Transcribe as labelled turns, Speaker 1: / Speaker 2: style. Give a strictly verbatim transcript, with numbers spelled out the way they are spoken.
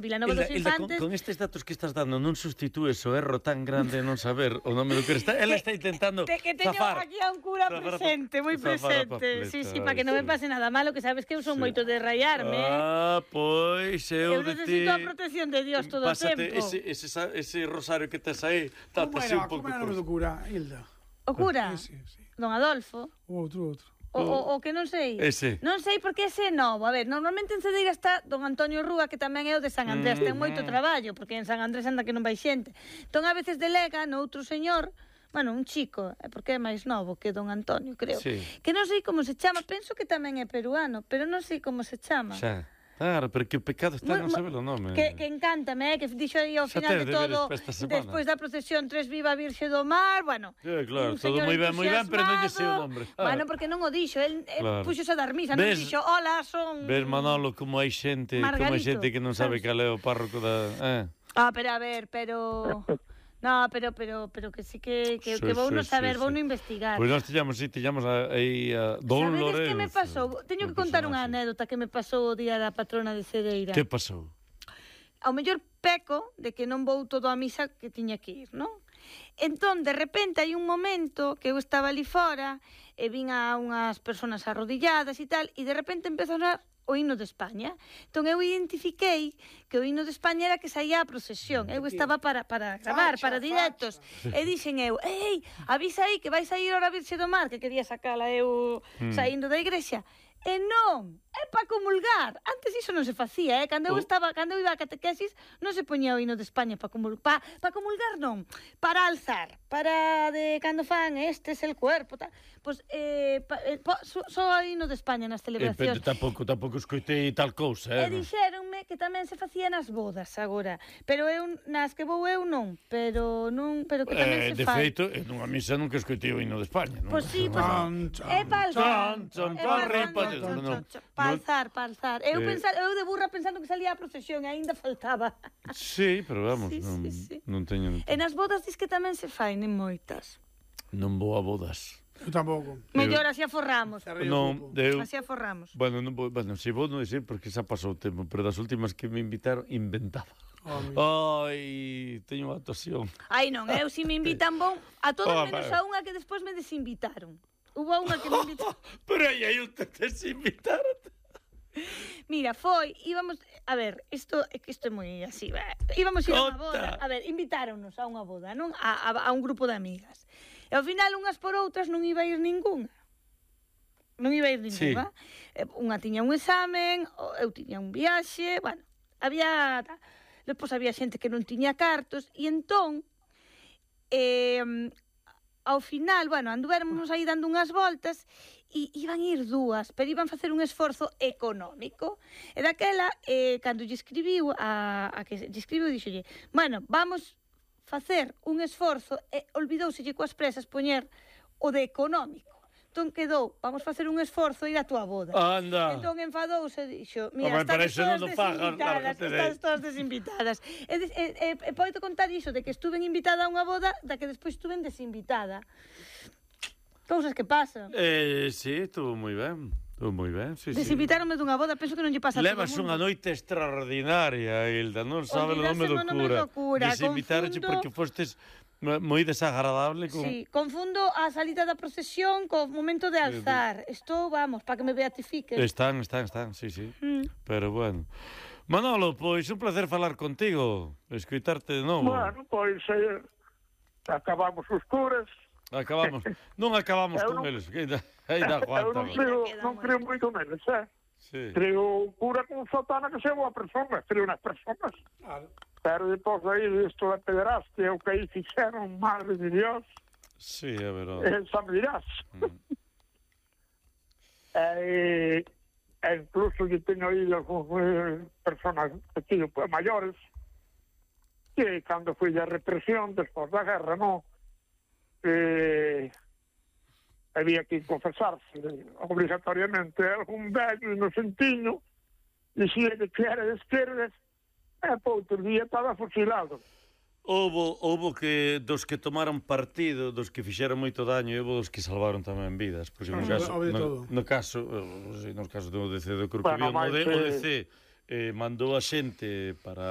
Speaker 1: Vilanova dos Infantes...
Speaker 2: Con, con estes datos que estás dando non sustitúes o erro tan grande de non saber o nome do que está. Ela está intentando
Speaker 1: te, que teño
Speaker 2: zafar.
Speaker 1: aquí a un cura presente, moi presente. Sí, sí, para que non me pase nada malo, que sabes que eu son sí. moito de rayarme.
Speaker 2: Ah, pois eu,
Speaker 1: eu de ti... Eu necesito a protección de Dios todo o tempo.
Speaker 2: Pásate ese, ese, ese rosario que tes aí, tátase un pouco.
Speaker 3: Como era o nome do cura, Hilda?
Speaker 1: O cura?
Speaker 3: Sí, sí.
Speaker 1: Don Adolfo?
Speaker 3: O outro, outro.
Speaker 1: O, o, o que non sei.
Speaker 2: Ese.
Speaker 1: Non sei porque ese é novo. A ver, normalmente en Cedeira está don Antonio Rúa, que tamén é o de San Andrés. Mm, Ten moito traballo, porque en San Andrés anda que non vai xente. Entón, a veces delega no outro señor, bueno, un chico, porque é máis novo que don Antonio, creo.
Speaker 2: Sí.
Speaker 1: Que non sei como se chama, penso que tamén é peruano, pero non sei como se chama.
Speaker 2: Xa. Claro, pero que o pecado está non sabe o nome.
Speaker 1: Que, que encántame, eh, que dixo aí ao final de todo, despois da procesión Tres Viva Virxe do Mar, bueno.
Speaker 2: Sí, claro, todo moi ben, moi ben, pero non lle sei o nombre.
Speaker 1: Ah. Bueno, porque non o dixo, el, claro. Puxose a dar misa, non dixo, hola, son...
Speaker 2: Ves, Manolo, como hai xente, Margarito, como hai xente que non sabe cal é o párroco da... Eh.
Speaker 1: Ah, pero a ver, pero... No, pero pero pero que sí que que, sí, que vou sí, no saber, sí, vou sí. no investigar.
Speaker 2: Pois pues nós tiñamos, si, sí, tiñamos aí a Don Lorenzo.
Speaker 1: Sabedes que me pasou? Teño que contar unha anécdota que me pasou o día da patrona de Cedeira.
Speaker 2: Que pasou?
Speaker 1: Ao mellor peco de que non vou todo a misa que tiña que ir, non? Entón, de repente, hai un momento que eu estaba ali fora e vin a unhas persoas arrodilladas e tal, e de repente empezou a sonar o himno de España. Entón eu identifiquei que o himno de España era que saía a procesión. Eu estaba para, para gravar, para directos. E dixen eu, ei, avisa aí que vai sair ora a Virxe do Mar, que quería sacala eu saindo da igrexa. E non, é para comulgar. Antes iso non se facía, eh? Cando eu estaba, cando eu iba a catequesis, non se poñía o hino de España para comulgar, pa, pa comulgar non, para alzar, para de cando fan este es el cuerpo, tal. Pois eh, pa, eh só so, o hino de España nas celebracións.
Speaker 2: Eh, tampouco, tampouco escoitei tal cousa, eh?
Speaker 1: E dixéronme que tamén se facía nas bodas agora, pero eu nas que vou eu non, pero non, pero que tamén
Speaker 2: eh,
Speaker 1: se
Speaker 2: de
Speaker 1: fai.
Speaker 2: De feito, en unha misa nunca escoitei o hino de España, non?
Speaker 1: Pois si, pois é para alzar. Para alzar, para alzar. Eu, eh, pensar, eu de burra pensando que salía a procesión e aínda faltaba.
Speaker 2: Sí, pero vamos, sí, non, sí, sí. non teño...
Speaker 1: E nas bodas dis que tamén se fai, nen moitas.
Speaker 2: Non vou a bodas.
Speaker 3: Eu tampouco.
Speaker 1: Mellor, así aforramos.
Speaker 2: Non, eu...
Speaker 1: Así aforramos.
Speaker 2: Bueno, non vou, bueno, si vou non dicir porque xa pasou o tempo, pero das últimas que me invitaron, inventaba. Oh, ai, teño unha actuación.
Speaker 1: Ai, non, eu si me invitan bon, a todos oh, menos a unha que despois me desinvitaron. Hubo unha que me invitaron.
Speaker 2: Pero aí hai un te desinvitaron.
Speaker 1: Mira, foi, íbamos, a ver, isto é que isto é moi así, va. Íbamos ir a unha boda, a ver, invitáronnos a unha boda, non? A, a, a un grupo de amigas. E ao final, unhas por outras, non iba a ir ningunha. Non iba a ir ningunha. Sí. Unha tiña un examen, eu tiña un viaxe, bueno, había... Depois había xente que non tiña cartos, e entón, eh... ao final, bueno, anduvéramos aí dando unhas voltas e iban ir dúas, pero iban facer un esforzo económico. E daquela, eh, cando lle escribiu a, a que lle escribiu, dixolle, bueno, vamos facer un esforzo, e olvidouselle coas presas poñer o de económico. Entón quedou, vamos facer un esforzo e ir a túa boda.
Speaker 2: Anda.
Speaker 1: Entón enfadouse e dixo, mira, estás todas desinvitadas, estás todas desinvitadas. E, e, e, e podo contar iso, de que estuven invitada a unha boda, da que despois estuven desinvitada. Cousas que pasan.
Speaker 2: Eh, sí, estuvo moi ben. Estuvo moi ben, sí,
Speaker 1: Desinvitaronme dunha boda, penso que non lle pasa a todo o mundo.
Speaker 2: Levas unha noite extraordinaria, Hilda, non sabe o nome do cura. Desinvitaronche porque fostes... moi desagradable con...
Speaker 1: Sí, confundo a salida da procesión co momento de alzar. Estou, vamos, para que me beatifiquen.
Speaker 2: Están, están, están, sí, sí. Mm. Pero bueno. Manolo, pois un placer falar contigo, escoitarte de novo.
Speaker 4: Bueno, pois eh, acabamos os curas.
Speaker 2: Acabamos. Non acabamos con eles, que ainda, ainda aguanta.
Speaker 4: Eu non creo, non creo moito neles, eh? Sí. Creo un cura con sotana que sea boa persona, creo nas personas. Claro. Pero depois aí isto da pederastia, o que aí fixeron, madre de Dios.
Speaker 2: Sí, é verdade.
Speaker 4: Eh, xa me dirás. Mm. e, e incluso que teño aí algúns personas aquí, pues, maiores, que cando foi a represión, despois da guerra, non? Eh, había que confesarse obligatoriamente algún vello inocentiño, dicía que era de esquerdas, e por outro día estaba fusilado.
Speaker 2: Houbo, houbo que dos que tomaron partido, dos que fixeron moito daño, e houbo dos que salvaron tamén vidas, porque no caso, no, no caso, no caso do D C do Corcubión, bueno, o D C eh, mandou a xente para